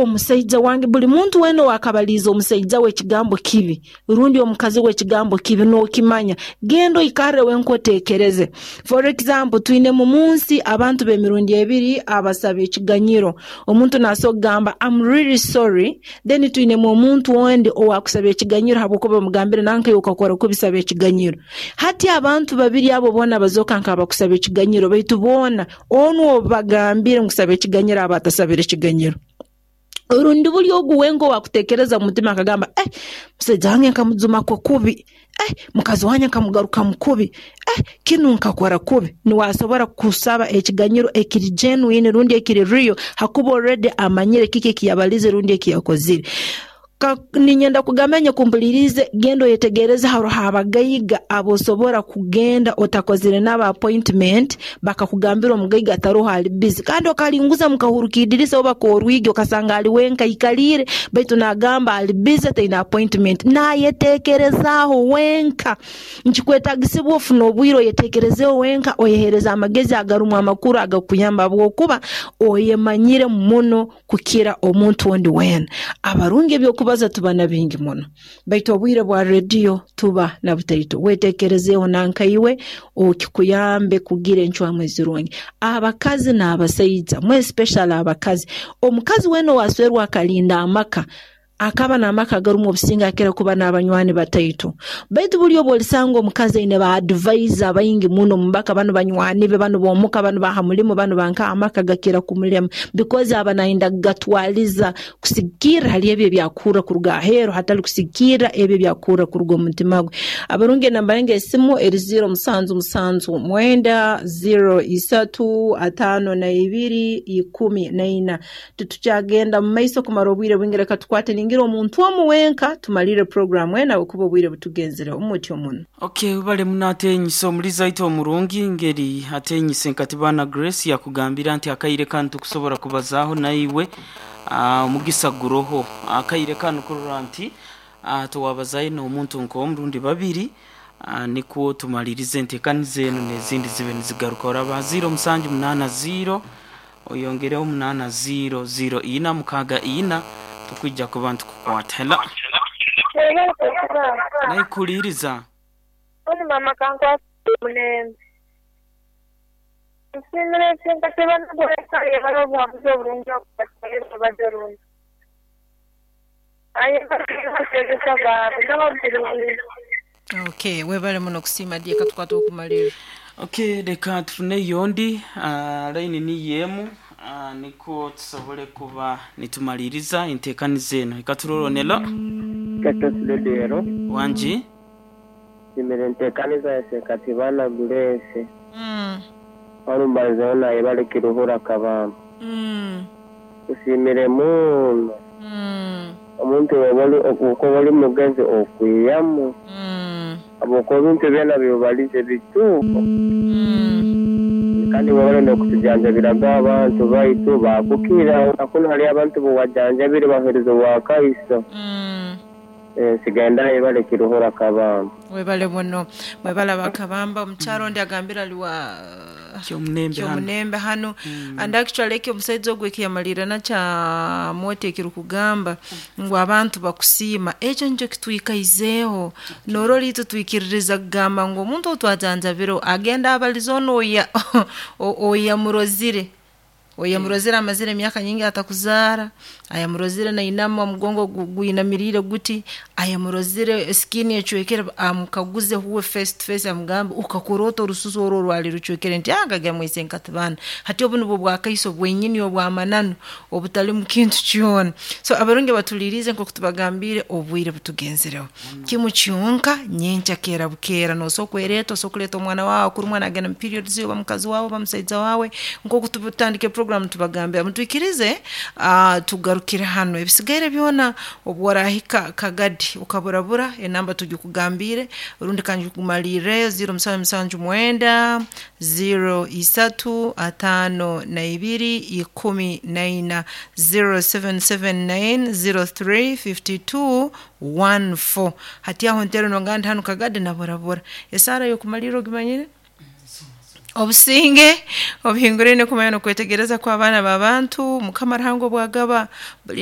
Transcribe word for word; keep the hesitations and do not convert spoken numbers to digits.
Omusaija wange, buli muntu weena owakabaliize omusaija we ekigambo kibi rundi omukazi we ekigambo kibi, n'okimanya, genda oikarre wenka oteekereze. For example, twinemu mu nsi abantu b'emirundi ebiri abasaba ekiganyiro. Omuntu naasobora kugamba, "I'm really sorry," then twinemu omuntu ondi owaakusaba ekiganyiro habwokuba bamugambire, "Nanka iwe okakora kubi, saba ekiganyiro." Hati abantu babiri abo boona bazooka nk'abakusaba ekiganyiro, baitu boona onu obu bagambire ngu saba ekiganyiro aba atasabire ekiganyiro. Orundi buli ogu wenka owaakuteekereza mu mutima akagamba, "Eh, musaija wange nkamujumako kubi, eh, mukazi wange nkamugarukamu kubi, eh, kinu nkakora kubi," niwe asobora kusaba ekiganyiro ekiri genuine rundi ekiri real, hakuba already amanyire kiki ekiyabalize rundi ekiyakozire. Niinyenda kugamba nyakumpuliriize, genda oyetegereze, haroho abagaiga abosobora kugenda otakozire nabo appointment, bakakugambira omugaiga taroho, ali busy, kandi okalinguza mukahuru k'idirisa oba k'orwigi okasanga ali wenka aikaliire, baitu naagamba ali busy, taine appointment, naayeteekerezaaho wenka. Nkikwetaagisibwa ofune obwire oyeteekerezeeho wenka, oyeheereze amagezi agarumu amakuru agakukuyamba, habwokuba oyemanyire muno kukira omuntu ondi weena. Abarungi ebyokubaza tuba na bingi muno, baitu obwire bwa rediyo tuba na butaito. Weteekerezeeho nanka iwe okikuyambe kugira encwamu ezirungi. Abakazi n'abasaija, more especially abakazi, omukazi weena owaaswerwa akalinda amaka, akaba n'amaka agarumu obusinge, akira kuba n'abanywani bataito. Baitu buli obu olisanga omukazi aine ba advisor baingi muno mubaka, banu banywani be, banu b'omuka, banu ba ha mulimo, banu bankaha, amaka gakira kumulema, because aba nayenda kugatwaliza kusigikirra hali ebi ebyakuhurra kuruga aheeru, hatali kusigikirra ebi ebyakuhurra kuruga omu mutima gwe. Abarungi, enamba yange esimu eri ziro musanju musanju mwenda ziro isatu ataano na ibiri ikumi na ina. Titukyagenda mu maiso kumara obwire bwingi, reka tukwate ningira omuntu omu wenka tumalire puroguramu enu habwokuba obwire butugenzere omutyo muno. Okay, bale muno atenyise omulizi aitu omurungi ngeri atenyise Nkatibana Grace yakugambira nti akaire kanu tukusobora kubazaaho naiwe, uh, omugisa guroho akaire kanu kurora nti uh, tuwabazayo n'omuntu nk'omurundi babiri, uh, nikwo tumalirize enteekaniza enu n'ezindi zibe nizigaruka. Oraba ziro musanju munaana ziro oyongereho munaana ziro ziro ina mukaaga ina, tukwija kuba ntukukwata. Hello, naikuliiriza. Oni mama kankwasa omulembe. Nsiimire Nkatibana Grace ayebale obuhabuzi oburungi okubateera obubadde orungi. Ayebale abateegesa baabwe n'ababirungi. Okay, webale muno kusiima dieka tukwata okumalirira. Okay, reka tufune yondi uh, line ni yemu, uh, niko tusobole kuba nitumaliriza enteekaniza eno. Ekaturoronelo. Ketosiledero. Wangi. Simire nteekaniza yase Katibana Grace. Mm. Walumbalizayo naye bali Kiruhura Kabamba. Mm. Usimire muno. Mm. Omuntu webali okuba oli mugezi okwiyamu. Mm. Habwokuba ebintu byona byobalize bituufu. Mm. Kandi webale n'okutujanjabiraga abantu baitu bakukira kuno hali abantu buwajanjabire bahereza obwakaiso. Mm. Nsigenda yebale Kiruhura Kabamba. Webale muno, mwebale abakabamba. Omukyaro ondi agambira ali wa Kyomunembe hano. Kyomunembe hano. And actually eki omusaija ogwo ekiyamalira nakya moti ekirukugamba ngu abantu bakusiima, ekyo nikyo kitwikaizeeho. Norora itwe twikiririza kugamba ngu omuntu ou twajanjabire agenda abalize onu oya oyamurozire oyamurozire amazire emyaka nyingi atakuzaara, ayamurozire nainama omugongo gwinamiriire guti, ayamurozire skin ecwekere, amukaguze huwe face to face, amugambe, "Ukakora ota orususu oru orwali rucwekere?" Nti akagira mwise Nkatibana. Hati obu nubwo bwakaiso bwenyini obw'amananu obutalimu kintu kyona. So abarungi batuliirize, nk'oku tubagambiire, obwire butugenzereho. Kimu kyonka, nyenkya keera bukeera noosobola okwereeta, osobola kuleeta omwana waawe akurumwa nagenda mu periods, oba mukazi waawe oba musaija waawe. Nk'oku tutandika program tubagambira, mutwikirize uh, tugarukire hano, ebisigaire byona obu orahika Kagadi ukaburabura enamba tugikugambiire, rundi kandi kumalirreyo ziro musanju musanju mwenda ziro isatu ataano na ibiri ikumi na ina, zero seven seven nine zero three fifty-two fourteen. Hati aho ntero nongandi hano Kagadi naburabura. Esaara y'okumalirra ogimanyire? Obusinge obuhinguraine kumanya n'okwetegereza kw'abaana b'abantu, Mukama Ruhanga obwagaba bulinde.